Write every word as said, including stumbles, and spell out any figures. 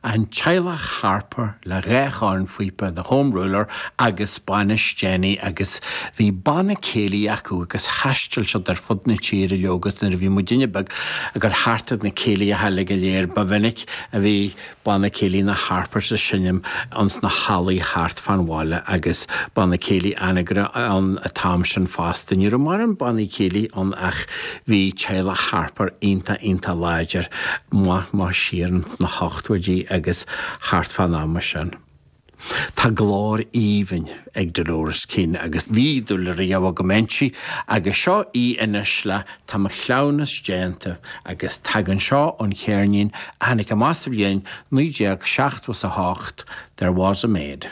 An teaghlach Harper le dhá chornphíopa, The Home Ruler agus bainis Jenny agus bhí banna céilí acu agus thaistil siad ar fud na tíre leo agus nuair a bhí muidinne beag ag dul thart ar na céilithe go léir ba mhinic a bhí banna céilí na Harpers ag seinm ins na hallaí thart fán bhaile agus banna céilí Anagaire an t-am sin fosta. Ní raibh mórán bannaí céilí ann ach bhí teaghlach Harper iontach iontach láidir maith maith siar sna hochtóidí agus thart fán am sin. Tá glór aoibhinn ag Dolores Keane agus bhí dúil riamh agam inti agus seo í anois le tá mo chleamhnas déanta agus tagann seo ón cheirnín a tháinig amach sa bhliain naoi déag seachtó a hocht There was a maid.